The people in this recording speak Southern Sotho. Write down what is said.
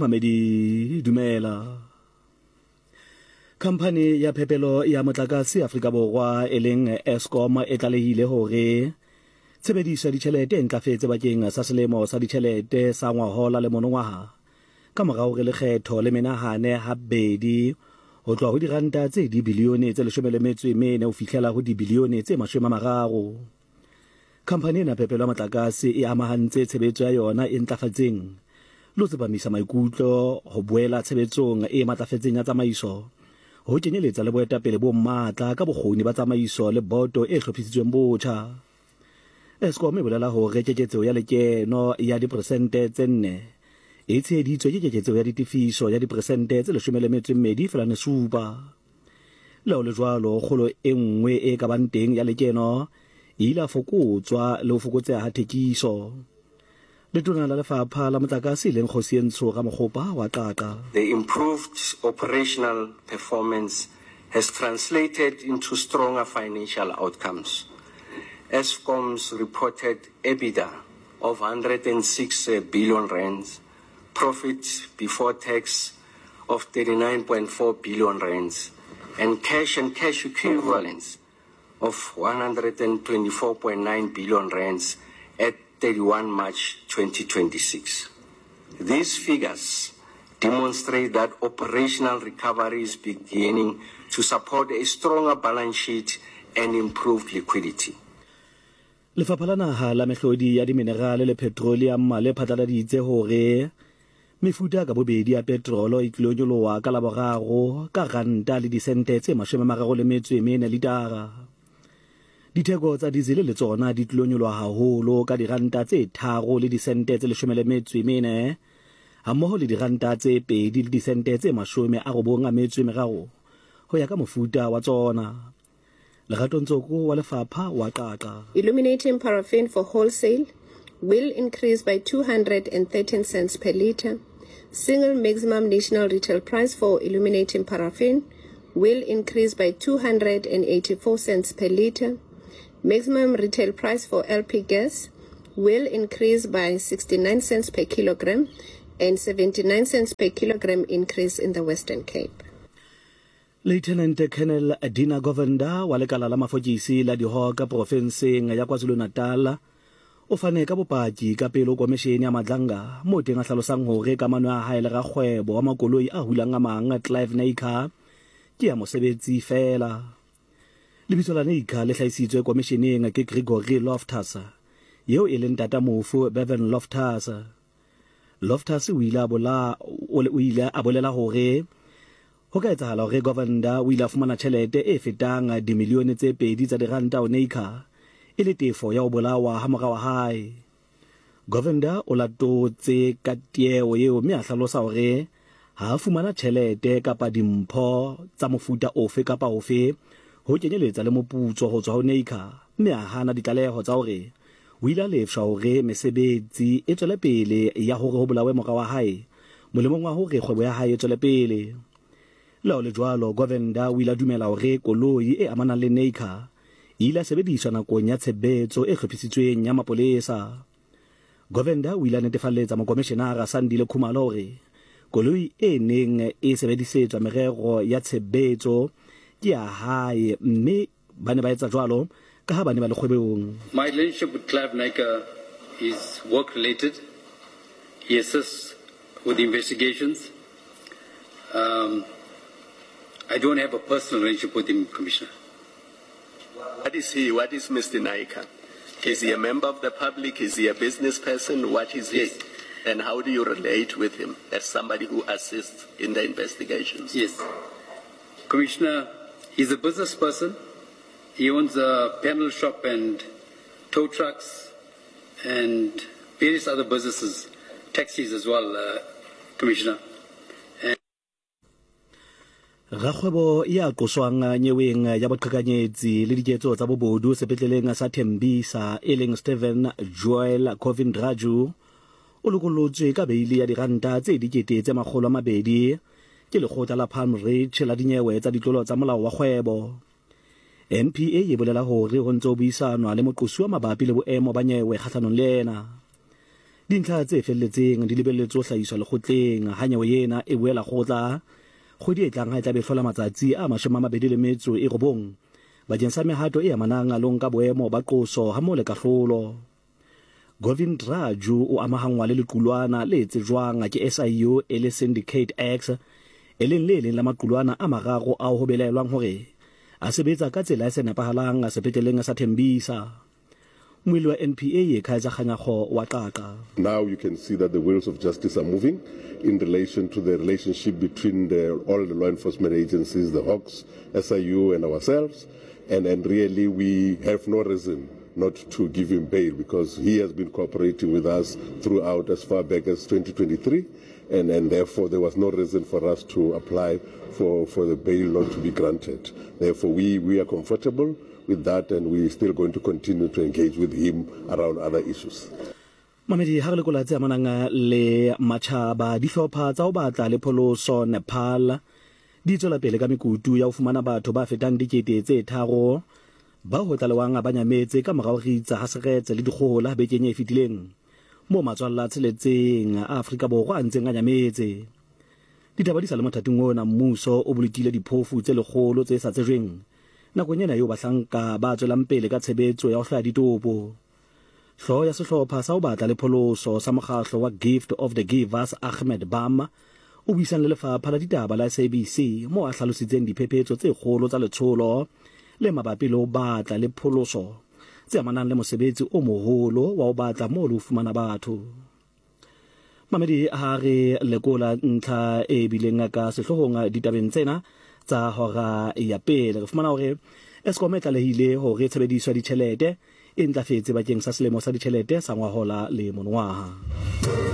Mamedi, dumela. Khamphani ya phepelo ya motlakase Afrika Borwa e leng Eskom e tlalehile hore tshebediso ya ditjhelete e ntlafetse bakeng sa selemo sa ditjhelete sa ngwahola le monongwaha ka mora hore lekgetho le menahane habedi ho tloha ho diranta tse dibilione tse 14 ho fihlela ho dibilione tse 30. Khamphani ena ya phepelo ya motlakase e amahantse tshebetso ya yona e ntlafatseng le ho tsepamisa maikutlo ho boela tshebetsong e matlafetseng ya tsamaiso, ho kenyeletsa le boetapele bo matla ka bokgoni ba tsamaiso le boto e hlophisitsweng botjha. Eskom e bolela hore keketseho ya lekeno ya diperesente tse nne e tsheheditswe ke keketseho ya ditefiso ya diperesente tse 12.7. Le ha ho le jwalo, kgolo e nngwe e ka bang teng ya lekeno e ile ya fokotswa le ho fokotseha ha thekiso. Letona la Lefapha la Motlakase e leng Kgosientsho Ramokgopa wa Qaqa. The improved operational performance has translated into stronger financial outcomes. Eskom's reported EBITDA of 106 billion rands profit before tax of 39.4 billion rands and cash and cash equivalents of 124.9 billion rands at 31 March 2026. These figures demonstrate that operational recovery is beginning to support a stronger balance sheet and improved liquidity. Lefapha la Naha la Mehlodi ya Diminerale le Petroleum le phatlaladitse hore mefuta ka bobedi ya petrolo e tlilo nyoloha ka Laboraro ka ranta le disente tse 34 litara. Ditheko tsa dizele le tsona di tlilo nyoloha haholo ka diranta tse 3 le disente tse 14 hammoho le diranta tse 2 le disente tse 93 ho ya ka mofuta wa tsona. Lerato Ntsoko wa Lefapha wa Qaqa. Illuminating paraffin for wholesale will increase by 213 cents per litre. Single maximum national retail price for illuminating paraffin will increase by 284 cents per litre. Maximum retail price for LP gas will increase by 69 cents per kilogram and 79 cents per kilogram increase in the Western Cape. Lieutenant Colonel Dina Govender wa lekala la mafokisi la Dihawk profenseng ya KwaZulu-Natal o fane ka bopaki ka pele ho komeshene ya Madlanga moo teng a hlalosang hore kamano ya hae le rakgwebo wa makoloi a hulang a mang Clive Naicker ke ya mosebetsi feela. Lebitso la Naicker le hlahisitswe komisheneng ke Gregory Loftus yeo e leng tata mofu Bevan Loftus. Loftus o ile a bola o ile a bolela hore Ho ka etsahala hore Govender o ile a fumana tjhelete e fetang dimilione tse pedi tsa diranta ho Naicker e le tefo ya ho bolawa ha mora wa hae. Govender o latotse ka tieo eo mme a hlalosa hore ha a fumana tjhelete kapa dimpho tsa mofuta ofe kapa ofe ho kenyeletsa le moputso ho tswa ho Naicker mme a hana ditlaleho tsa hore o ile a lefshwa hore mesebetsi e tswele pele ya hore ho bolawe mora wa hae molemong wa hore kgwebo ya hae e tswele pele. Le ha ho le jwalo, Govender o ile a dumela hore koloi e amanang le Naicker e ile ya sebediswa nakong ya tshebetso e hlophisitsweng ya mapolesa. Govender o ile a netefalletsa Mokomeshenara Sandile Khumalo hore koloi e neng e sebedisetswa merero ya tshebetso ke ya hae mme Ba ne ba etsa jwalo ka ha ba ne ba le kgwebong. My relationship with Clive Naicker is work related. He assists with the investigations. Um, I don't have a personal relationship with him, Commissioner. What is he? What is Mr. Naicker? Is he a member of the public? Is he a business person? What is he? Yes. And how do you relate with him as somebody who assists in the investigations? Yes. Commissioner, he's a business person. He owns a panel shop and tow trucks and various other businesses, taxis as well, uh, Commissioner. Rakgwebo ya qoswang nyeweng ya boqhekanyetsi le diketso tsa bobodu sepetleleng sa Tembisa e leng Stephen Joel Kovindraju o lokolotswe ka beili ya diranta tse dikete tse 200 ke lekgotla la Palm Ridge la dinyewe tsa ditlolo tsa molao wa kgwebo. NPA e bolela hore ho ntse ho buisanwa le moqosuwa mabapi le boemo ba nyewe kgahlanong le yena. Dintlha tse felletseng di lebelletswe ho hlahiswa lekgotleng ha nyewe ena e boela kgotla kgwedi e tlang ha e tla be e hlola matsatsi a 29 bakeng sa mehato e amanang le ho nka boemo ba qoso hammoho le kahlolo. Govind Raju o amahanngwa le lequlwana le tsejwang ke SIU e le Syndicate X, e leng le leng la maqulwana a mararo ao ho belaelwang hore a sebetsa ka tsela e sa nepahalang sepetleleng sa Tembisa. Mmuelli wa NPA, Kaizer Kganyago wa Qaqa. Now you can see that the wheels of justice are moving in relation to the relationship between the, all the law enforcement agencies, the Hawks, SIU and ourselves. And, and really we have no reason not to give him bail because he has been cooperating with us throughout as far back as 2023 and, and therefore there was no reason for us to apply for, for the bail not to be granted. Therefore we, we are comfortable with that and we are still going to continue to engage with him around other issues. Mamedi, ha re lekola tse amanang le matjhaba, dihlopha tsa ho batla le pholoso Nepal di tswela pele ka mekutu ya ho fumana batho ba fetang 3000 bao ho tlalewang ba nyametse ka mora ho ritsa ha seretse le dikgohola bekeng e fetileng, moo matswalla a tsheletseng a Afrika Borwa a ntseng a nyametse. Ditaba di sa le mothating ona, mmuso o bolokile diphofu tse 100 tse sa tsejweng Nakong ena eo bahlanka ba tswelang pele ka tshebetso ya ho hlwaya ditopo, hlooho ya sehlopha sa ho batla le pholoso sa mokgahlo wa Gift of the Givers Ahmed Bam o buisane le lefapha la ditaba la SABC moo a hlalositseng diphephetso tse kgolo tsa letsholo le mabapi le ho batla le pholoso tse amanang le mosebetsi o moholo wa ho batla moo le ho fumana batho. Mamedi ha re lekola ntlha e bileng ka sehloohong ditabeng tsena tsa hora ya pele, re fumana hore Eskom e tlalehile hore tshebediso ya ditjhelete e ntlafetse bakeng sa selemo sa ditjhelete sa ngwahola le monongwaha.